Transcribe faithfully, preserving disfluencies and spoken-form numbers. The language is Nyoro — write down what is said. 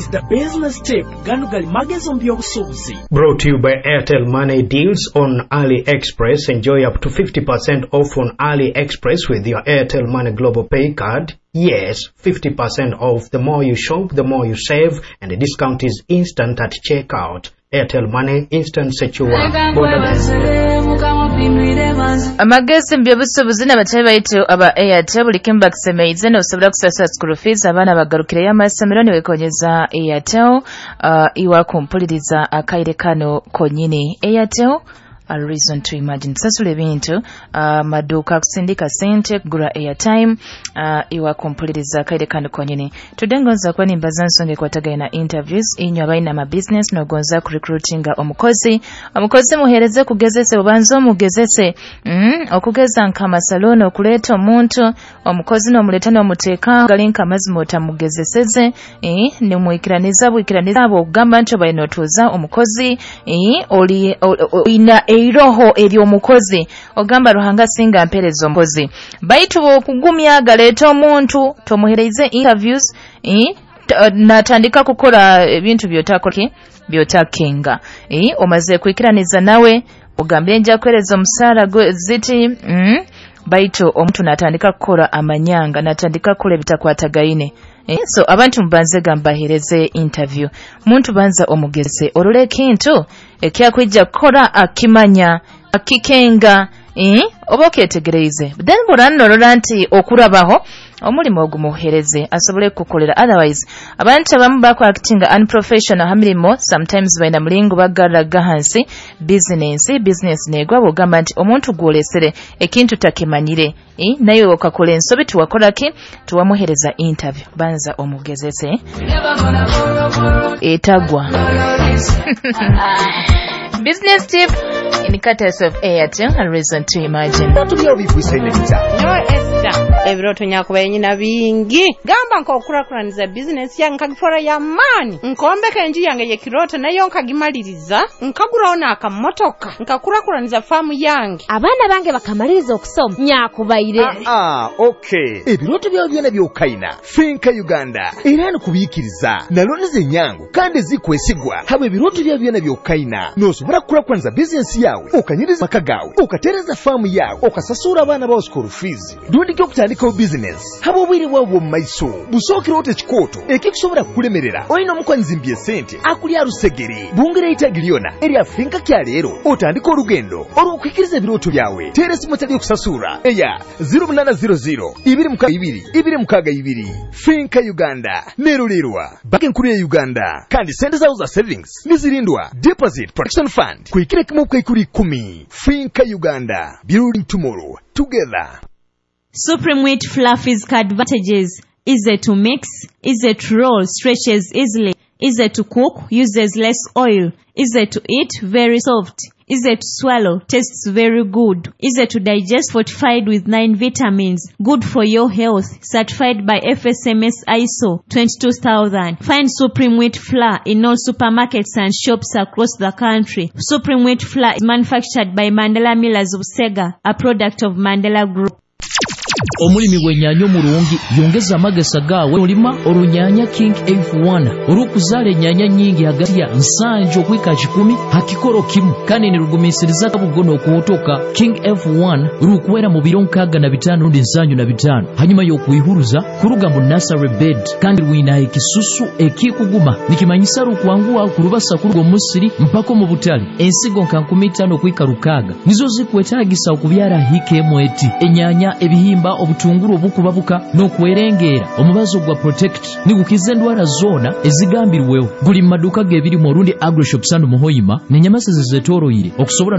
Is the business tip. Gano gali magezi mu by'obusuubuzi. Brought to you by Airtel Money Deals on AliExpress. Enjoy up to fifty percent off on AliExpress with your Airtel Money Global Pay card. Yes, fifty percent off. The more you shop, the more you save, and the discount is instant at checkout. Airtel Money, instant, secure, borderless. Amagezi mu by'obusuubuzi n'abatali baitu aba Airtel, buli kimu bakisemeize. Nosobola kusasula school fees, abaana bagarukireyo amasomero niwekonyeza Airtel. uh, iwa kumpuliriza akaire kano konyini, Airtel, a reason to imagine. Sasula ebintu, uh, maduuka kusindika sente, kugura airtime. uh, iwa kumpuliriza akaire kano konyini, tudde ngonza kuba nimbaza nsonga ekwatagana na interviews. Inywe abalina ama business nogonza kurecruitinga omukozi, omukozi muhereze kugezese, obanze omugezese. mm, okugeza nk'amasaloni, okuleeta omuntu omukozi n'omuleeta n'omuteeka gali nk'amazima otamugezeseze, eh, nimwikiraniza bwikiraniza abo okugamba nti obaine otuuza omukozi, eh, oli olina eiroho ery'omukozi, ogamba, "Ruhanga singa mpereza omukozi." Baitu bwokugumya galeeta omuntu tomuhereize interviews, eh, natandika kukora ebintu byotakola byotakenga, eh, omaze kwikiraniza nawe, ogambire nja kuhereza omusaara ziti, mm, baitu omuntu natandika kukora amanyanga, natandika kukora ebitakwatagaine. Eh, so abantu mubanze gambahereze interview, muntu banza omugeze orole ekintu ekyakwija kukora akimanya, akikenga, eh, oba okyetegereize. Then bw'oranorora nti okurabaho omulimu ogumuhereze asobole kukukolera. Otherwise abantu abamu bakwactinga unprofessional ha mirimo. Sometimes balina mulingo bagarraga hansi business, business negwa bwogamba nti omuntu gwolesere ekintu takimanyire, eh, naye okakola ensobi, tiwakola ki, tiwamuhereza interview. Banza omugezese etagwa. Business tip in courtesy of Airtel and Reason to Imagine. Nyowe Esther, ebirooto nyakubaye nyina bingi. Gamba nk'okukurakuraniza bizinesi yange, nkagifora y'amaani, nkombeka enju yange y'ekirooto nayo nkagimaliriza, nkaguraho n'akamotoka, nkakurakuraniza faamu yange. Abaana bange bakamaliriza okusoma nyakubaire. Ah, okay, ebirooto byawe byona byokaina, Finca Uganda era nikubiikiriza na looni zenyangu kandi ezikwesigwa. Haba ebirooto byawe byona byokaina, nosobola kukulakulaniza bizinesi yawe, okanyiriza maka gawe, okatereza faamu yawe, okasasura abaana bawe school fees, rundi okutandikawo bizinesi. Haba obwire bwawe bw'omu maiso busookera ota ekikooto ekikusobola kukulemerera. Olina omukwanyizimbya esente akulya rusegere, bungera eitagi lyona erya Finca kyaleero, otandika olugendo olw'okuhikiriza ebirooto byawe. Teera esimu etali okusasura eya zero munaana zero zero two six two two six two. Finca Uganda nerulirwa Banka Enkuru ya Uganda, kandi sente zawo za savings nizirindwa Deposit Protection Fund kuhikira kimu bukaikuru ikumi. Finca Uganda, building tomorrow together. Supreme Wheat Fluffy's advantages: easy to mix, easy to roll, stretches easily, easy to cook, uses less oil, easy to eat, very soft, easy to swallow, tastes very good, easy to digest, fortified with nine vitamins, good for your health, certified by F S M S I S O twenty-two thousand. Find Supreme Wheat Flour in all supermarkets and shops across the country. Supreme Wheat Flour is manufactured by Mandela Millers of Sega, a product of Mandela Group. Omulimi w'ennyaanya omurungi yongeza amagesa gaawe olima orunyaanya King F one orukuzaala ennyaanya nnyingi hagati ya nsanju okwika kikumi ha kikoro kimu, kandi nirugumiisiriza kabugo n'okuhotoka. King F one rukwera mu biro nkaaga na bitaano rundi nsanju na bitaano hanyuma y'okwihuruza kuruga mu nursery bed, kandi rwina ekisusu ekikuguma, nikimanyisa rukwanguha kurubasa kuruga omusiri mpaka omu butale. Ensigo nka nkumi itaano okwika rukaaga nizo zikwetaagisa okubyara hika emu eti enyaanya, ebihimba, obutunguru obukubabuka n'okwerengeera. Omubazo gwa Protect nigukiza endwara zoona ezigambirweho. Guli mu maduuka g'ebirimu orundi Agroshops and Muhoyima n'enyamasezi zetoroire okusobola.